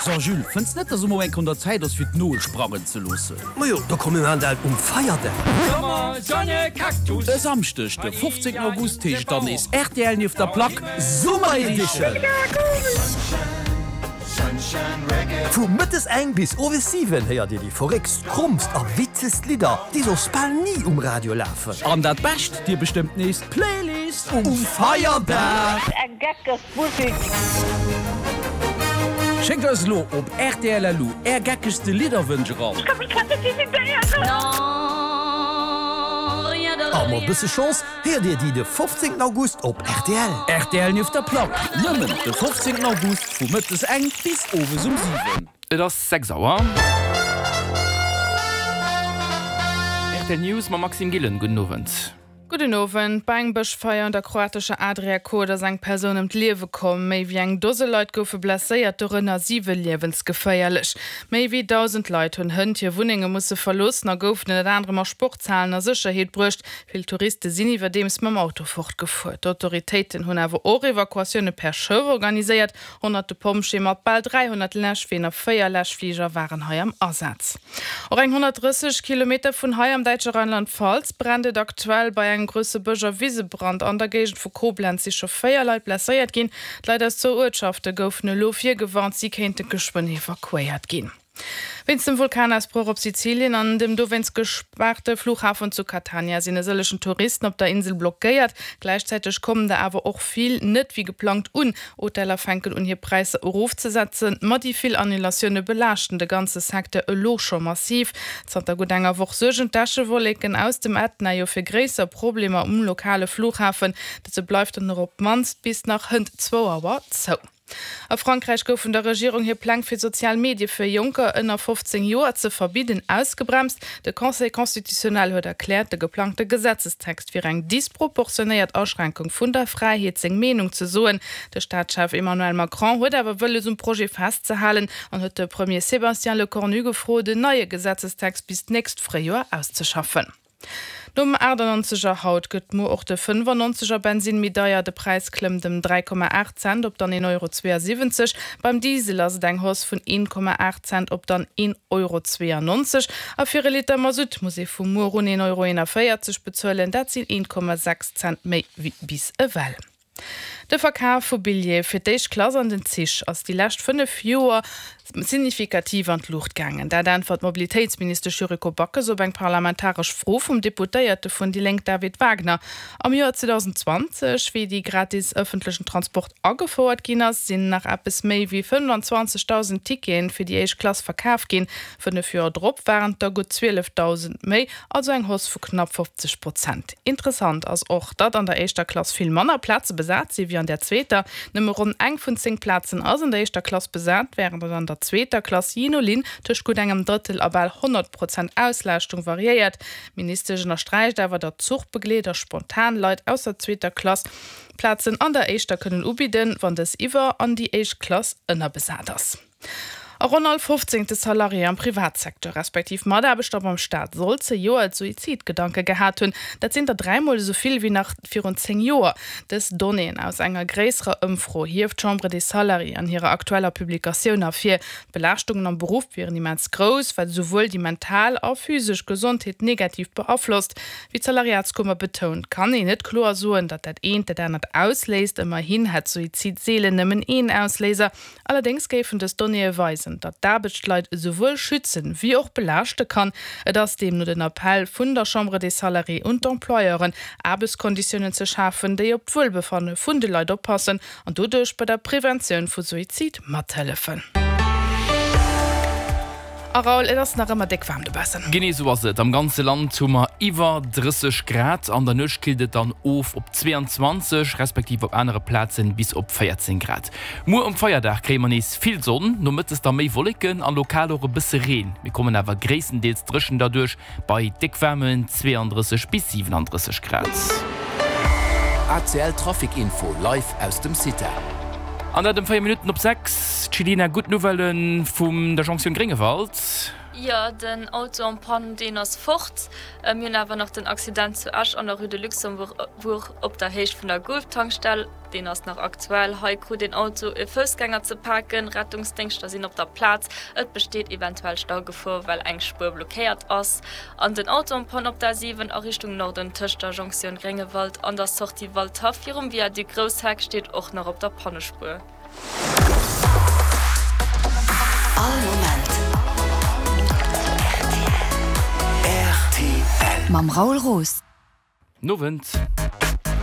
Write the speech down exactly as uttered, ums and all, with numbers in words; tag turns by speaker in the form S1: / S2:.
S1: So Jules, fënns net, dass et mol eng Kéier un der Zäit ass fir d'Nol sprangen ze loossen?
S2: Majo, da komm mir maachen dat um Feierdag.
S1: E Samschdeg de fofzéngten August heescht et dann nees rtl nieft der Plack Summer Edition!
S2: Vu mëttes eng bis owes siwen héiert dir déi verréckst, krommst a witzegst Lidder, déi soss bal ni um Radio lafen.
S1: An dat Bescht, dir bestëmmt nees d'Playlist um Feierdag!
S3: Eng geckeg Musik.
S1: Schéckt eis elo op rtl.lu är geckegste Lidderwënsch eran.
S3: Ech ka mech grad net decidéieren.
S2: A mat bësse Chance héiert dir déi de fofzéngten August op rtl.
S1: Rtl nieft der Plack, nëmmen de fofzéngten August vu mëttes eng bis owes um siwen.
S4: Et ass sechs Auer. Rtl News mam Maxime Gillen. Gudden Owend.
S5: Gudden Owend. Bei engem Bëschfeier un der kroatescher Adriakot ass eng Persoun ëm d'Liewe komm. Méi wéi eng Dose Leit goufe blesséiert, dorënner siwe liewensgeféierlech. Méi wéi dausend Leit hunn hënt hir Wunnenge musse verloossen a goufen ënnert anerem a Sportshalen a Sécherheet bruecht. Vill Touriste sinn iwwerdeems mam Auto fortgefuer. D'Autoritéiten hunn awer och Evakuatioune per Schëff organiséiert. Honnerte Pompjeeë mat bal dräihonnert Läschween a véier Läschfliger waren hei am Asaz. Och eng honnertdrësseg Kilometer vun hei am däitsche Rheinland-Pfalz brennt et aktuell bei engem grousse Bësch a Wisebrand an der Géigend vu Koblenz si scho véier Leit blesséiert ginn. D'Leit aus zwou Uertschafte goufen elo virgewarnt, si kéinte geschwënn evakuéiert ginn. Wéinst dem Vulkanausbroch op Sizilien an dem dowéinst gespaarte Flughafen zu Catania sinn e sëllechen Touristen op der Insel blockéiert. Gläichzäiteg kommen der awer och vill net wéi geplangt un. Hoteller fänken un hir Präisser erofzesetzen, ma déi vill Annulatioune belaaschten de ganze Secteur elo scho massiv. Zanter gutt enger Woch suergen d'Äschewolleken aus dem Ätna jo fir gréisser Problemer um lokale Flughafen. Dëse bleift dann och op d'mannst bis nach hënt zwou Auer zou. A Frankräich goufen der Regierung hir Pläng fir sozial Medie fir Jonker ënner fofzéng Joer ze verbidden ausgebremst. De Conseil constitutionnel huet erkläert, de geplangte Gesetzestext wier eng disproportionéiert Aschränkung vun der Fräiheet seng Meenung ze soen. De Staatschef Emmanuel Macron huet awer wëlles um Projet festzehalen an huet de Premier Sébastien Lecornu gefrot, en neie Gesetzestext bis d'nächst Fréijoer auszeschaffen. Nom aachtannonzeg er haut gëtt muer och de fënnefannonzeg er Bensinn méi deier. De Präis klëmmt ëm dräi Komma aacht Cent op dann een Euro zweeënsiwwenzeg. Beim Diesel ass et eng Hausse vun een Komma aacht Cent op dann een Euro zweeënnonzeg. A fir e Liter Masutt muss ee vu muer un een Euro eenavéierzeg bezuelen. Dat sinn een Komma sechs Cent méi wéi bis ewell. De Verkaf vu Billjeeë fir d'éischt Klass an den Zich ass déi lescht fënnef Joer signifikativ an d'Luucht gaangen. Dat äntwert d'Mobilitéitsministesch Yuriko Backes op eng parlamentaresch Fro vum Deputéierte vun déi Lénk David Wagner. Am Joer zweedausendenzwanzeg, wéi déi gratis ëffentlechen Transport agefouert ginn ass, sinn nach eppes méi wéi fënnfanzwanzegdausend Tickete fir déi éischt Klass verkaf ginn. Fënnef Joer drop waren et der gutt zwielefdausend méi, also eng Hausse vu knapp fofzeg Prozent. Interessant ass och, datt an der éischter Klass vill manner Plaze besat si wéi an der zweeter. Nëmme ronn eng vun zéng Plazen ass an der éischter Klass besat, wärend et an der zweeter Klass jee no Linn tëscht gutt engem Drëttel a bal honnert Prozent Auslaaschtung variéiert. D'Ministesch ënnersträicht awer, datt Zuchbegleeder spontan Leit aus der zweeter Klass Plazen an der éischter kënnen ubidden, wann dës iwwer an déi éischt Klass ënnerbesat ass. A ronn all fofzéngte Salarié am Privatsecteur, respektiv Mataarbechter beim Staat soll zejoert Suizidgedanke gehat hunn. Dat sinn der dräimol esou vill wéi nach virun zéng Joer. Dës Donnéeën aus enger gréisserer Ëmfro hieft d'Chambre des Salariés an hirer aktueller Publikatioun ervir. D'Belaaschtungen am Beruff wieren immens grouss, wat esouwuel déi mental a physesch Gesondheet negativ beaflosst. Wéi d'Salariatskummer betount, kann een net kloer soen, datt dat eent dat anert ausléist. Ëmmerhin hätt Suizid seelen nëmmen een Ausléiser. Allerdéngs géifen dës Donnéeë weisen, datt d'Aarbecht d'Leit esouwuel schützen, wéi och belaaschte kann. Et ass deemno den Appell vun der Chambre des Salariés un d'Employeuren, Aarbechtskonditiounen ze schafen, déi op d'Wuelbefanne vun de Leit oppassen an doduerch bei der Preventioun vu Suizid mathëllefen. A Raoul, et ass nach ëmmer déck waarm dobaussen.
S4: Genee esou ass et. Am ganze Land hu mer iwwer drësseg Grad. An der Nuecht killt et dann of op zweeanzwanzeg, respektiv op anere Plazen bis op véierzéng Grad. Muer um Feierdag kréie mer nees vill Sonn, nomëttes da méi Wolleken an lokal och e bësse Reen. Mir kommen awer gréisstendeels dréchen derduerch bei déck waarmen zweeandrësseg bis siwenandrësseg Grad.
S6: A C L Trafic Info live aus dem CITA.
S4: An dat ëm véier Minutten op sechs. D'Chelina, gutt Nouvellen vum der Jonktioun Gréngewald.
S7: Jo, den Auto en panne, deen ass fort. Mir hunn awer nach den Accident zu Esch an der Rue de Luxembourg op der Héicht vun der Gulf-Tankstell. Deen ass nach aktuell. Hei krut een Auto e Foussgänger ze paken. Rettungsdéngschter sinn op der Plaz. Et besteet eventuell Staugefor, well eng Spuer blockéiert ass. An den Auto en panne op der A siwen a Richtung Norden tëscht der Jonktioun Gréngewald an der Sortie Waldhaff virum Viaduc Groussheck steet och nach op der Pannespuer.
S8: All Moment rtl. Mam Raoul Roos.
S4: Nowend.